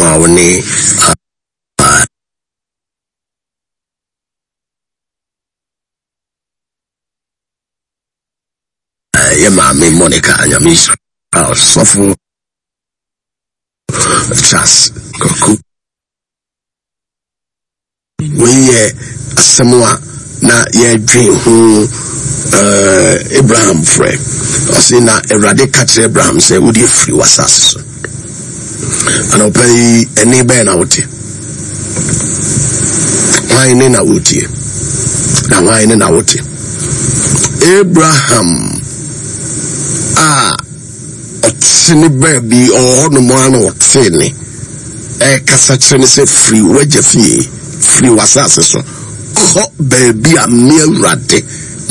a wo ne yɛ maame Monica Nyame nhyira ɔsɔfo Charles Kwaku. Wei yɛ asɛm a na yɛdwen ho eh, Abraham frɛ. Ɔse na Awurade ka kyerɛ Abraham sɛ wode afiri w'asase so. Anɔpa yi ɛne bɛn na wote? Hwan ne na wotie? Na hwan ne na wote? Abraham a ɔte ne baabi ɔwɔ hɔnom a na ɔte ne ɛkasa kyerɛ ne sɛ firi w'agya fie firi w'asase so kɔ baabi a me awurade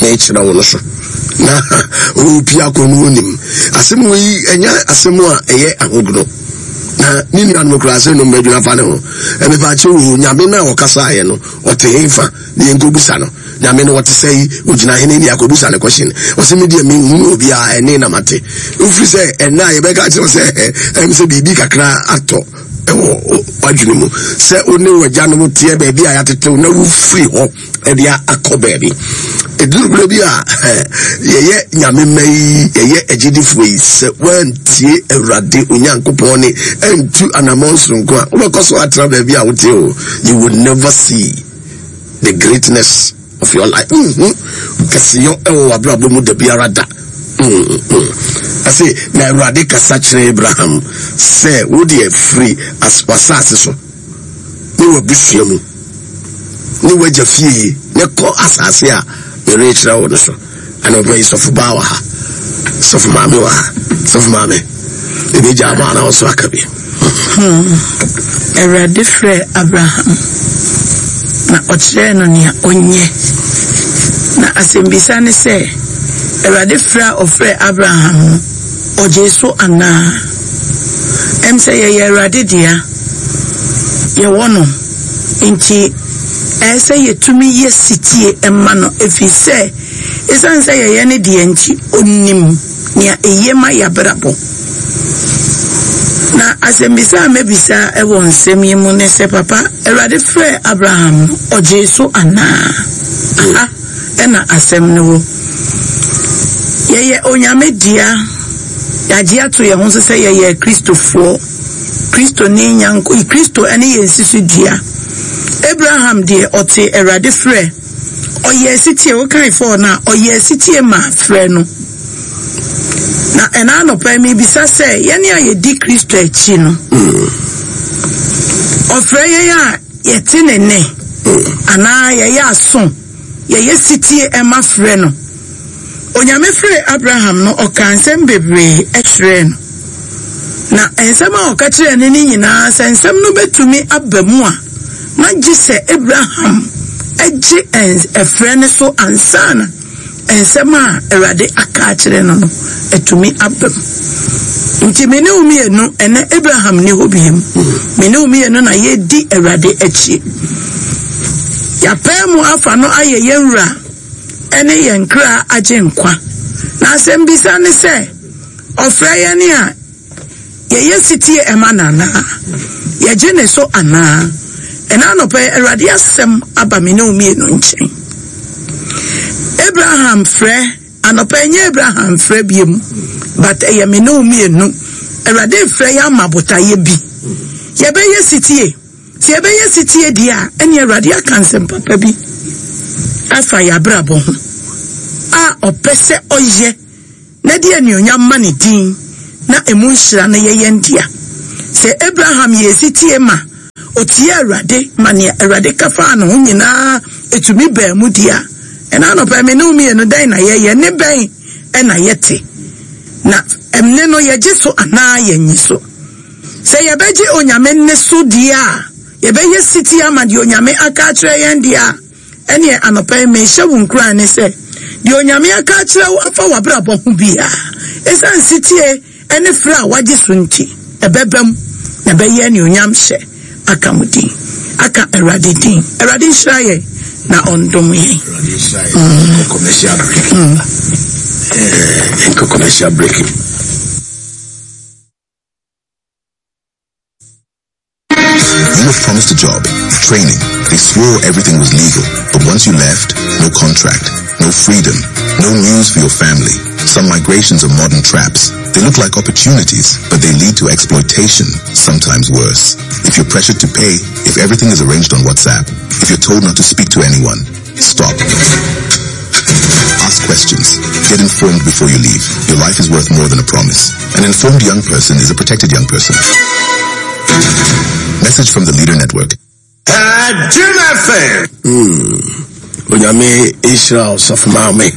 mekyerɛ wo no so na ɔrepi akɔ no onim asɛm wei ɛnyɛ asɛm a ɛyɛ ahogono na ne nuanom koraa sɛ nom bɛdwena fa ne ho ɛmepa akyɛ wo nyame no a ɔkasaeɛ no ɔte hefa ne yɛnkɔbusa no Nyame no ɔte sɛ yi ogyina hene ne akɔbusa ne question ɔsɛ me deɛ menhunu obiara ɛne na mate wofiri sɛ ɛnɛ a yɛbɛka kyerɛ sɛ ɛm sɛ biribi kakra atɔ ɛwɔ wadwene mu sɛ wo ne w'agyanom teɛ baabi a yɛatetew na wofiri hɔ ɛde akɔ baabi ɛduru berɛ bi a yɛyɛ nyame mma yi yɛyɛ agyidifoɔ yi sɛ woantie awurade onyankopɔn ne antu anammɔn soronko a wobɛkɔ so atena baabi a wote o you will never see the greatness of your life nhu kɛseyɔ ɛwɔ w'abrabɔ mu da biara da ɛse na awurade kasa kyerɛ abraham sɛ wo deɛ firi w'asase so ne w'abusua mu ne w'agya fie ne kɔ asase a merekyerɛ wo no so Anɔpa yi sɔfo baa wɔ ha, sɔfo maame wɔ ha, sɔfo maame, ebi gya ama na ɔso aka bi. Hmm. Awurade frɛɛ Abraham na ɔkyerɛɛ no nea ɔnyɛ. Na asɛmbisa ne sɛ, Awurade frɛ a ɔfrɛɛ Abraham no, ɔgyee so anaa? Ɛm sɛ yɛyɛ Awurade dea, yɛwɔ no, nti Ɛsɛ sɛ yetumi yɛ setie ma no efisɛ esiane sɛ yɛyɛ ne dea nti, onim nea eye ma yɛn abrabɔ. Na asɛmmisa a mebisa wɔ nsɛm yi mu ne sɛ, Papa, Awurade frɛɛ Abraham no, ogyee so anaa? Aha na asɛm no wɔ. Yɛyɛ Onyame dea, yɛagye ato yɛn ho so sɛ yɛyɛ Kristofoɔ. Kristo ne nyanko, Kristo ne yɛn si dua. Abraham deɛ ɔtee Awurade frɛ, ɔyɛɛ setie, wokae fɔɔ no a, ɔyɛɛ setie maa frɛ no. Na ɛna anɔpa yi mebisa sɛ, yɛne a yɛdi Kristo akyi no, ɔfrɛ yɛn a yɛte ne nne, anaa yɛyɛ aso, yɛyɛ setie ɛma frɛ no? Onyame frɛɛ Abraham no, ɔkaa nsɛm bebree kyerɛɛ no. Na nsɛm a ɔka kyerɛɛ no no nyinaa, sɛ nsɛm no bɛtumi aba mu a, na gye sɛ Abraham gye ɛfrɛ no so ansa na nsɛm a Awurade aka akyerɛ no no atumi aba mu. Nti me ne wo mmienu, ɛnɛ Abraham ni hɔ biem. Me ne wo mmienu na yɛdi Awurade akyi. Yɛapɛɛ mu afa no ayɛ yɛn wura ne yɛn kra agyenkwa. Na asɛmbisa ne sɛ, ɔfrɛ yɛn a, yɛyɛ setie ma no anaa? Yɛgye ne so anaa? Ɛna anɔpa yi, Awurade asɛm aba me ne wo mmienu nkyɛn. Abraham frɛ, anɔpa yi nyɛ Abraham frɛ biom, but ɛyɛ me ne wo mmienu. Awurade frɛ yɛn ama botaeɛ bi. Yɛbɛyɛ setie. Sɛ yɛbɛyɛ setie deɛ a, ɛnneɛ Awurade aka nsɛm papa bi afa yɛn abrabɔ ho a ɔpɛ sɛ ɔyɛ na de anuonyam ma ne din na emu nhyira no yɛ yɛn dea. Sɛ Abraham yɛɛ setie ma ɔtiee Awurade ma nea Awurade ka faa ne ho nyinaa ɛtumi baa mu deɛ a, ɛna anɔpa yi me ne wo mmienu dɛn na yɛyɛ? Ne bɛn na yɛte? Na ɛmne no yɛgye so anaa yɛnnye so? Sɛ yɛbɛgye Onyame nne so deɛ a, yɛbɛyɛ setie ama deɛ Onyame aka akyerɛ yɛn deɛ a, ɛneɛ anɔpa yi mehyɛ wo nkuran ne sɛ, deɛ Onyame aka akyerɛ wo afa w'abrabɔ ho biara, ɛsiane setie ne frɛ a woagye so nti, ɛbɛba mu na ɛbɛyɛ anuonyam hyɛ aka mo din, aka Awurade din. Awurade nhyira yɛn na ɔndom yɛn. Awurade nhyira yɛn. Nkɔ commercial break. Nkɔ commercial break. You were promised a job, training. They swore everything was legal. But once you left, no contract, no freedom, no news for your family. Some migrations are modern traps. They look like opportunities, but they lead to exploitation, sometimes worse. If you're pressured to pay, if everything is arranged on WhatsApp, if you're told not to speak to anyone, stop. Ask questions. Get informed before you leave. Your life is worth more than a promise. An informed young person is a protected young person. Message from the Leader Network. Jim FM. Onyame nhyira wo sɔfo maame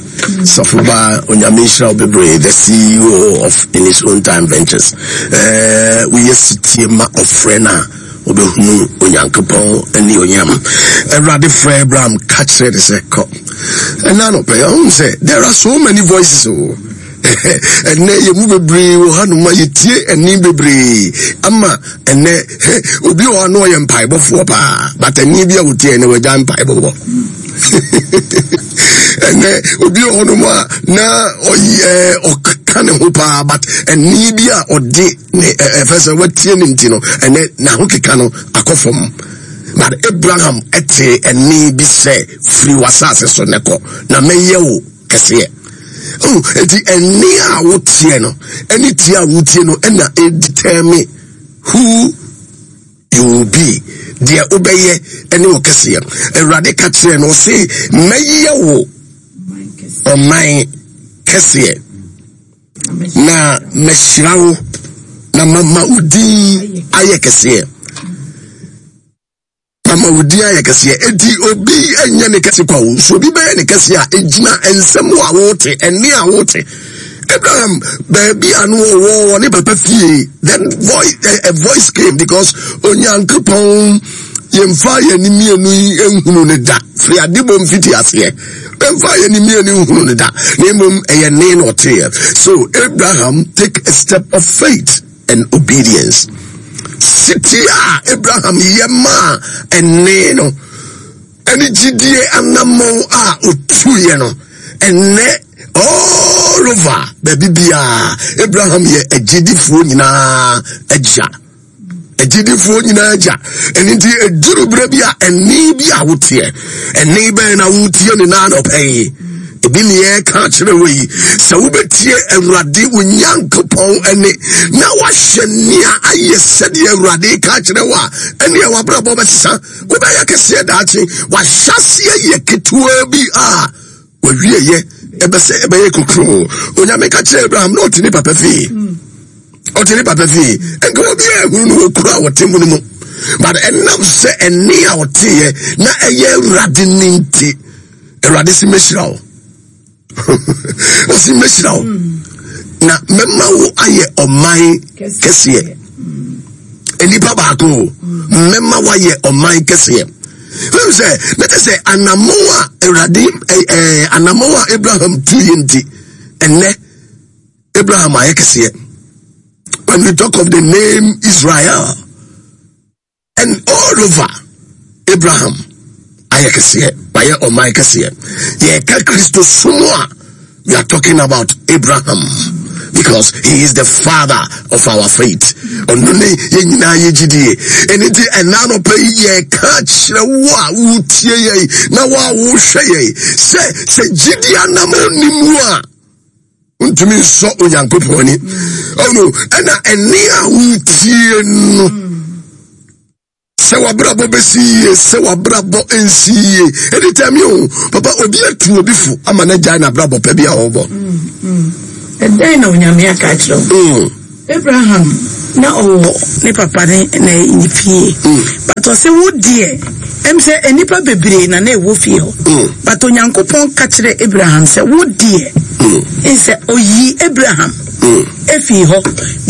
sɔfo ba Onyame nhyira wo bebree the CEO of In His Own Time Ventures. Eh, woyɛ sitie ma ɔfrɛ no a wobɛhunu Onyankopɔn ne onyam. Awurade frɛ Abraham ka kyerɛ ne sɛ kɔ. Ɛna anɔpɛ ɔhu sɛ there are so many voices o. Oh. Ɛnɛ yɛ mu bebree wɔ hanom a yɛtie ɛne bebree ama ɛnɛ obi wɔ hɔ na ɔyɛ mpaebɔfoɔ paa but ɛne bi a wɔtie ɛnɛ wɔagya mpaebɔ bɔ ɛnɛ obi wɔ hɔnom a na ɔyɛ ɔka ne ho paa but ɛne bi a ɔde ne ɛfɛ sɛ watie ne nti no ɛnɛ n'ahokeka no akɔ fam but Abraham ɛte ɛne bi sɛ firi w'asase so ne kɔ na mɛyɛ wo kɛseɛ oh, eti ɛnne a woteɛ no ɛne tie a wotie no ɛna ɛdetermine who you will be deɛ wobɛyɛ ɛne wo kɛseɛ awurade ka kyerɛ no ɔse mɛyɛ wo ɔman kɛseɛ na mɛhyira wo na mama wo din ayɛ kɛseɛ Ama wo din ayɛ kɛseɛ. Enti obi nyɛ ne kɛse kwa o. So obi bɛyɛ ne kɛseɛ a, egyina nsɛm a wote, ɛnne a wote. Abraham, baabi a no ɔwɔ wɔ ne papa fie, then voice, a, a voice came because Onyankopɔn yɛmfa yɛn ani mmienu yi nhunu ne da firi adebɔ mfiti aseɛ yɛmfa yɛn ani mmienu nhunu ne da na mmom ɛyɛ ne na ɔteɛ. So Abraham take a step of faith and obedience. Siti a Abraham yɛ maa ɛnne no ɛne gyidie anammɔn a ɔtuiɛ no ɛnnɛ all over baabi biara Abraham yɛ agyidifoɔ nyinaa agya agyidifoɔ nyinaa agya ɛno nti ɛduru berɛ bi a ɛnne bi a woteɛ ɛnne bɛn na wotie ne naa nɔpɛ yi Ebi ne yɛreka akyerɛ wo yi, sɛ wobɛtie Awurade wo Nyankopɔn ɛne na wahyɛ nea ayɛ sɛdeɛ Awurade ka akyerɛ wo a, ɛneɛ w'abrabɔ bɛsesa, wobɛyɛ kɛseɛ daakye. Wahyɛ aseɛ yɛ ketewa bi a wawieyɛ ɛbɛsɛ ɛbɛyɛ kokuroo. Onyame ka kyerɛ Abraham na ɔte ne papa fie. Ɔte ne papa fie. Nka obi a ehunu no wɔ kuro a wɔte mu no mu. But ɛnam sɛ ɛne a ɔteɛ na ɛyɛ Awurade ne nti, awurade si mɛhyira wo ɔsi mɛhyira wo na mɛma wo ayɛ ɔman kɛseɛ nnipa baako o mɛma woayɛ ɔman kɛseɛ fɛn sɛ ne te sɛ anamɔn a awurade ɛɛ anamɔn a abraham tu yɛ nti ɛnɛ abraham ayɛ kɛseɛ when we talk of the name israel. And all over Abraham ayɛ kɛseɛ wayɛ ɔman kɛseɛ yɛka Kristo som a we are talking about Abraham because he is the father of our faith ɔno ne yɛn nyinaa yɛ gyidie ɛno nti ɛna anɔpa yi yɛka kyerɛ wo a wotie yɛn na wo a wohwɛ yɛn sɛ sɛ gyidie anam ɔni mu a Wontumi nsɔ Onyankopɔn ani. Ɔno ɛna ɛne a wotie no. Sɛ wabrabɔ bɛsi yie, sɛ wabrabɔ nsi yie. Ɛdi tɛm yi o, papa obi atu obi fo ama no agyae n'abrabɔ pɛ bi a ɔbɔ. Ɛdɛn na Onyame aka akyerɛ wo? Mm. Abraham na ɔwɔ ne papa ne ne fie mm. but ɔsɛ wo deɛ ɛm sɛ nnipa bebree na na ɛwɔ fie hɔ mm. but Onyankopɔn ka kyerɛ Abraham sɛ wo deɛ mm. sɛ oyi Abraham efii hɔ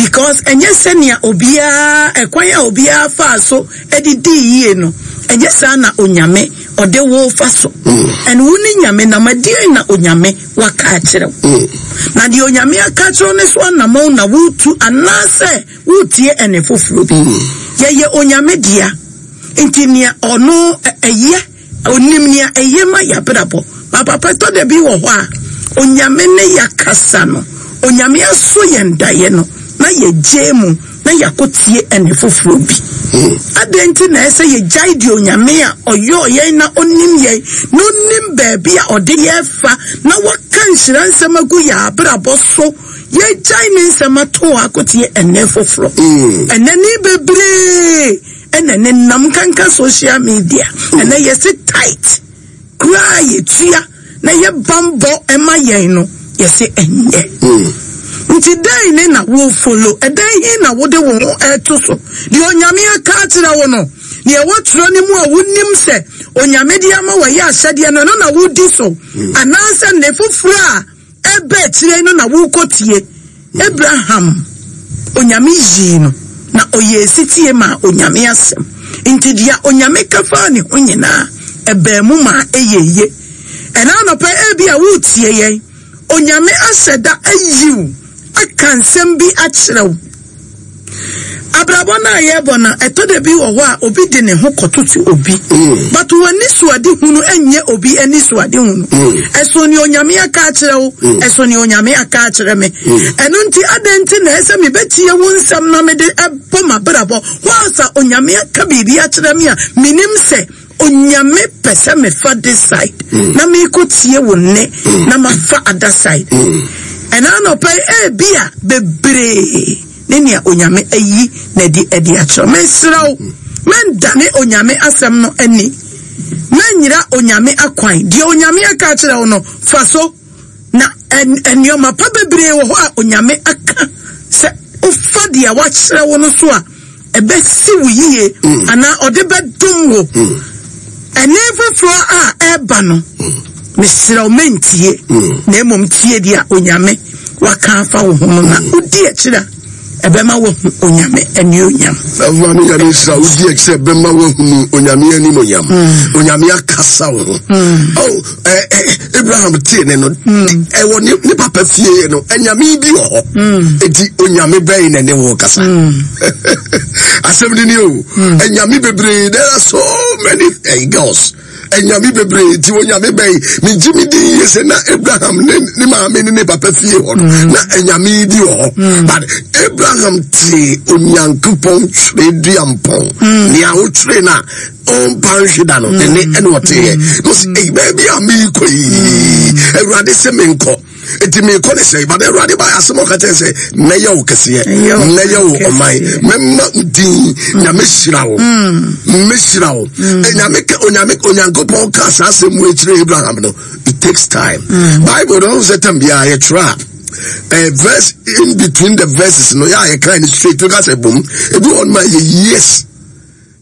because ɛnyɛ sɛnea obiara ɛkwan a obiara faa so ɛde dii yie no ɛnyɛ saa na Onyame ɔde wo fa so ɛne wo ne Nyame nam ɛdeɛn na Onyame waka akyerɛ wo. Mm. Na deɛ Onyame aka akyerɛ wo no so anamɔn na woretu anaasɛ woretie ɛne foforɔ bi. Mm. Yɛyɛ Onyame dea, nti nea ɔno ɛyɛ, onim nea ɛyɛ ma yɛabrabɔ. Ba papa ɛtɔ da bi wɔ hɔ a, Onyame ne yɛakasa no, Onyame aso yɛn daeɛ no, na yɛgye mu. na yɛakɔtie ɛnne foforɔ bi. Adɛn nti na ɛsɛ yɛgyae deɛ Onyame a ɔyɔɔ yɛn na ɔnim yɛn na ɔnim baabi a ɔde yɛn fa na waka nhyira nsɛm agu yɛn abrabɔ so, yɛgyae ne nsɛm ato hɔ akɔtie ɛnne foforɔ? Ɛnɛ ne bebree ɛna ne nam nkanka social media. Ɛnɛ yɛse tight koraa yɛtua na yɛ banbɔ ma yɛn no, yɛse ɛnyɛ. Nti dɛn ne na wo follow? Ɛdɛn he na wode wo ho ɛto so? Deɛ Onyame aka akyerɛ wo no, deɛ ɛwɔ twerɛ no mu a wonim sɛ Onyame de ama wo ɛyɛ ahyɛdeɛ no, ɛno na wodi so? Anaasɛ nne foforɔ a ɛreba akyire no na worekɔtie? Abraham, Onyame yii no, na ɔyɛɛ setie maa Onyame asɛm. Nti deɛ Onyame ka faa ne ho nyinaa, ɛbaa mu maa ɛyɛɛ ye. Ɛna anɔpa yi, ebia woretie yɛn, Onyame ahyɛ da ayi wo, aka nsɛm bi akyerɛ wo. Abrabɔ no a yɛbɔ no, ɛtɔ da bi wɔ hɔ a obi de ne ho kɔtoto obi. But w'anisoadehunu nyɛ obi anisoadehunu. Ɛso nea Onyame aka akyerɛ wo, ɛso nea Onyame aka akyerɛ me. Ɛno nti, adɛn nti na ɛsɛ mebɛtie wo nsɛm na mede bɔ m'abrabɔ whilst a Onyame aka biribi akyerɛ me a menim sɛ Onyame pɛ sɛ mefa this side mm. na meekɔ tie wo nne mm. na mafa other side. Ɛna anɔpa yi ebi a bebree ne nea Onyame ayi na ɛde ɛde akyerɛ. Mesrɛ wo, mɛndane Onyame asɛm no ani. Mɛnyera Onyame akwan. Deɛ Onyame aka akyerɛ wo no, fa so. Na nneɛma pa bebree wɔ hɔ a Onyame aka sɛ wofa deɛ wakyerɛ wo no so a, ɛbɛsi wo yie mm. anaa ɔde bɛdom wo. Mm. Ɛne foforɔ a ɛreba no, mm. mesrɛ wo mɛntie, na mmom tie deɛ Onyame waka afa wo ho no na wodi akyiri a ɛbɛma wahu Onyame anuonyam. Awurade Nyame nhyira wodi akyiri ɛbɛma wahunu Onyame animonyam. Onyame akasa wo ho. Oh, eh, eh, Abraham tee ne no hmm. ɛwɔ ne ne papa fie no anyame bi wɔ hɔ hmm. eti onyame bɛn na ne wɔ kasa hmm. asɛm ni ni o anyame bebree there are so many eh, girls anyame bebree ti onyame bɛn megye mi di yie sɛ na Abraham ne ne maame ne ne papa fie hɔ no na anyame bi wɔ hɔ but Abraham tee Onyankopɔn twerɛ duampɔn nea wotwerɛ no a ɔmpa nhwe da no ɛne mm. ɛne ɔteeɛ mm. na ɔsɛ ɛyi baabi a meekɔ yi mm. Awurade sɛ menkɔ nti meekɔ ne sɛ but Awurade ba asɛm ɔka kyerɛ sɛ mɛyɛ wo kɛseɛ mɛyɛ wo ɔman mɛma wo din na mɛhyira wo mɛhyira wo nyame ka onyame Onyankopɔn ka saa asɛm mu akyerɛ Abraham no, it takes time. Bible no sɛ tam biara yɛtwerɛ a verse in between the verses no yɛ a yɛka ne straight woka sɛ bom ebi wɔ no ma yɛ years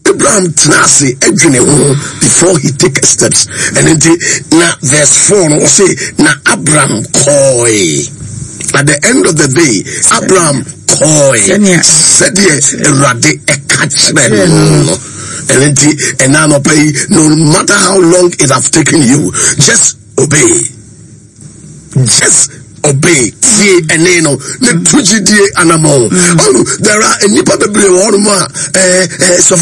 Abraham tena ase dwene ho before he take steps. Ɛno nti na verse 4 no ɔse na Abraham kɔe. At the end of the day, Abraham kɔe sɛdeɛ Awurade ɛka kyerɛ no no. Ɛno nti ɛna anɔpa yi, no matter how long it have taken you, just obey. Just obey. Tie ɛne no ne to gyidie anamɔn. Oh, there are nnipa bebree wɔ hɔnom a ɛɛ ɛɛ sɔfo.